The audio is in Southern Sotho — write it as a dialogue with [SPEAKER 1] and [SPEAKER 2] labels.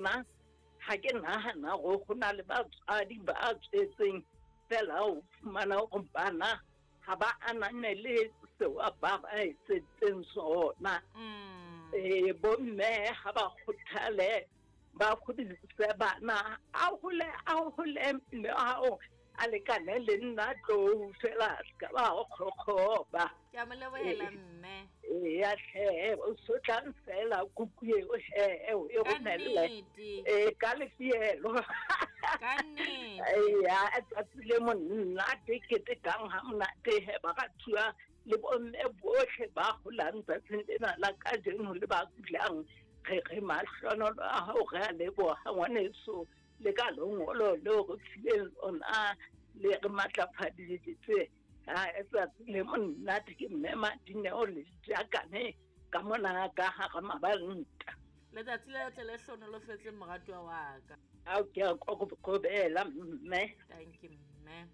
[SPEAKER 1] Nna ga ke nagana gore go na le batswadi ba tswetseng fela o fumana gore bana ga ba ananele seo ba ba etsetseng sona. Ee, bomme ga ba kgothale ba godise bana, a gole a gole mme ao a lekane le nna tlou fela se ka ba o kgokgoba.
[SPEAKER 2] Ke a mo lebohela mme.
[SPEAKER 1] Eya tlhe, o sotlang fela kuku eo he o e
[SPEAKER 2] Ka
[SPEAKER 1] romelle.
[SPEAKER 2] nnete.
[SPEAKER 1] Ee, ka lefielo.
[SPEAKER 2] Ka nnete.
[SPEAKER 1] Eya, tsatsi le monate ketekang ha monate he ba ka thua le bomme botlhe ba golang tsatsing lena la kajeno le ba kulang. Re re mahlonolo a hao re a leboha ngwaneso le ka lengolo leo re fileng lona le re matlafaditse. A tsatsi le monate ke mme Madineo le Jakane ka mona ka hara mabanta.
[SPEAKER 2] Letsatsi le tle le hlonolofetse moratuwa wa ka.
[SPEAKER 1] Ao ke a kokobela mme.
[SPEAKER 2] Thank you mme.